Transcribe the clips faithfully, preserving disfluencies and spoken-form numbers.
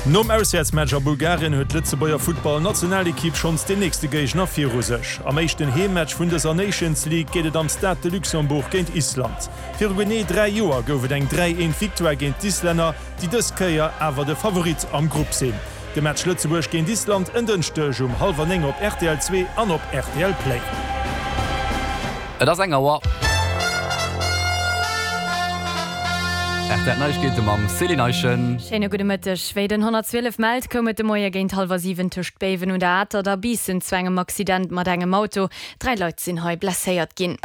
Nom Auswäertsmatch a Bulgarien huet d'Lëtzebuerger Futtball-Nationalekipp schonns den nächste Géigner viru sech. Am éischten Heemmatch vun dëser Nations League geet et am Stade de Luxembourg géint Island. Viru genee dräi Joer gouf et eng dräi eent Victoire géint d'Islänner, déi dës Kéier awer de Favorit am Grupp sinn. De Match Lëtzebuerg géint Island en Dënschdeg um hallwer néng op rtl zwee an op rtl Play. Et ass eng Auer. Rtl Neiegkeete mam Céline Eischen. Schéine gudde Mëtteg. Wéi den honnertzwielef mellt, koum et de Moie géint hallwer siwen tëscht Béiwen un der Atert a Biissen zu engem Accident mat engem Auto. Dräi Leit sinn hei blesséiert ginn.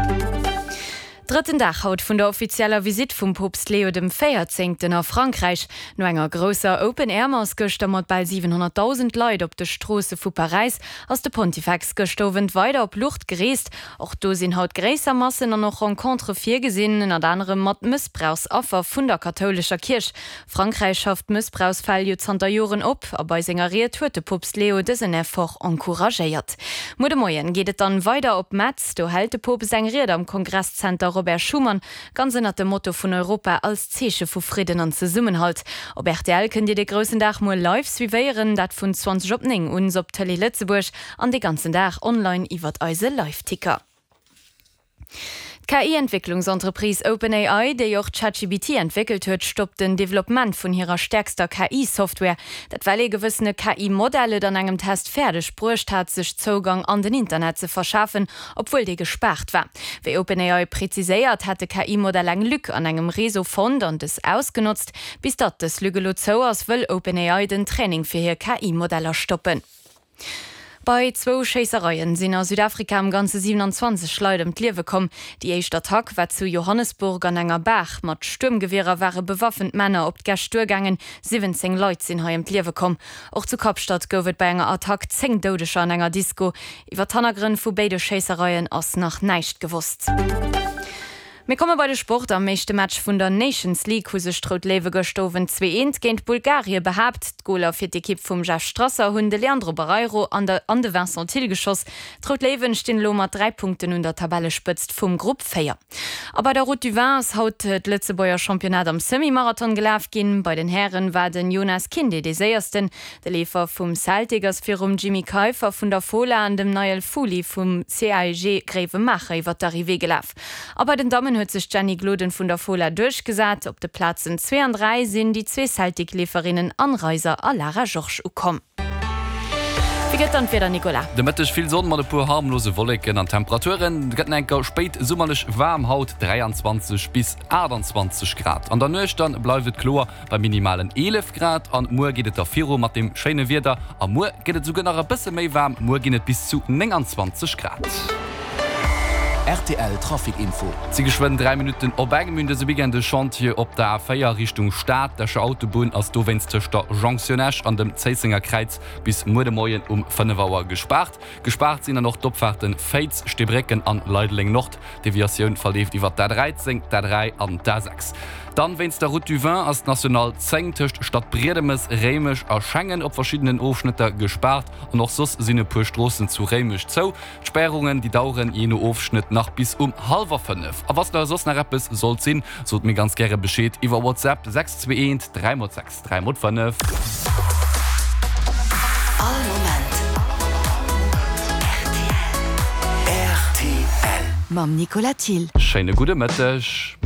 Drëtten Dag haut vun der offizieller Visitt vum Poopst Leo dem Véierzéngten a Frankräich. No enger grousser Open-Air-Mass gëschter mat bal siwenhonnertdausend Leit op de Stroosse vu Paräis ass de Pontifex gëschter Owend weider op Lourdes gereest. Och do sinn haut gréisser Massen an och Rencontere virgesinn, ënnert anerem mat Mëssbrauchsaffer vun der kathoulescher Kierch. Frankräich schafft Mëssbrauchsfäll jo zanter Joren op a bei senger Ried huet de Poopst Leo dësen Effort encouragéiert. Muer de Moien geet et dann weider op Metz, do hält de Poopst eng Ried am Kongresszenter Robert Schuman, ganz ënnert dem Motto vun Europa als Zeeche vu Fridden an Zesummenhalt. Op rtl kënnt Dir de groussen Dag muer live suivéieren, dat vun zwanzeg op néng un op Tëlee Lëtzebuerg an de ganzen Dag online iwwert eise Liveticker. D'K I-Entwécklungsentreprise OpenAI, déi och ChatGPT entwéckelt huet, stoppt den Developpement vun hirer stäerkster K I-Software. Dat well ee gewëssene K I-Modell et an engem Test fäerdeg bruecht hat, sech Zougang an den Internet ze verschafen, obwuel dee gespaart war. Wéi OpenAI preziséiert, hätt de K I-Modell eng Lück an engem Réseau fonnt an dës ausgenotzt. Bis datt dës Lück elo zou ass, wëll OpenAI den Training fir hir K I-Modeller stoppen. Bei zwou Schéissereien sinn a Südafrika am Ganze siewenanzwanzeg Leit ëm d'Liewe komm. Déi éischt Attack war zu Johannesburg an enger Bar. Mat Stuermgewierer ware bewaffent Männer op d'Gäscht duergaangen. Siwwenzéng Leit sinn hei ëm d'Liewe komm. Och zu Kapstadt gouf et bei enger Attack zéng Doudeger an enger Disko. Iwwer d'Hannergrënn vu béide Schéissereien ass nach näischt gewosst. Mir komme bei de Sport. Am éischte Match vun der Nations League hu sech d'Rout Léiwe gëscht Owend zwee eent géint Bulgarie behaapt. D'Goler fir d'Ekipp vum Jeff Strasser hunn de Leandro Barreiro an de an de Vincent Thill geschoss. D'Rout Léiwen stinn elo mat dräi Punkten un der Tabellespëtzt vum Grupp véier. A bei der Route du Vin ass haut d'Lëtzebuerger Championnat am Semi-Marathon gelaf ginn. Bei den Hären war den Jonas Kinde dee Séiersten. De Leefer vum Celtic ass virum Jimmy Keiffer vun der Fola an dem Niall Fouly vum C A E G Gréiwemaacher iwwer d'Arrivée gelaf. A bei den Dammen huet sech d'Jenny Gloden vun der Fola duerchgesat. Op de Plazen zwee an dräi sinn déi zwee Celtic-Leeferinnen Anne Reiser a Lara Georges ukomm. Wéi gëtt dann d'Wieder, Nicolas? De Mëtteg vill Sonn mat e puer harmlose Wolleken an Temperaturen gëtt nach enker spéit summerlech waarm, haut dräianzwanzeg bis aachtanzwanzeg Grad. An der Nuecht dann bleift et kloer bei minimalen eelef Grad an muer geet et da viru mat dem schéine Wieder a muer gëtt et esouguer nach e bësse méi waarm, muer ginn et bis zu nénganzwanzeg Grad. Rtl Trafic Info. Et si geschwënn dräi Minutten op eng. Mir hunn dëse Weekend e Chantier op der A véier Richtung Stad. D'Escher Autobunn ass dowéinst tëscht der Jonktioun Esch an dem Zéissenger Kräiz bis muer de Moien um fënnef Auer gespaart. Gespaart sinn dann och d'Opfaarten Féiz, Steebrécken an Leideleng Nord. D'Deviatioun verleeft iwwer d'A dräizéng, d'A dräi an d'A sechs. Dann wéinst der Route du Vin ass d'National zéng tëscht Stadbriedemes, Réimech a Schengen op verschiddenen Ofschnëtter gespaart an och soss sinn e puer Stroossen zu Réimech zou. D'Spärungen déi daueren jee no Ofschnëtt nach bis um hallwer fënnef. A wa soss nach eppes sollt sinn, sot mir ganz gäre Bescheed iwwer WhatsApp, sechs zwee eent dräi mol sechs dräi mol fënnef. All Moment rtl. Rtl. Mam Nicolas Thill. Schéine gudde Mëtteg.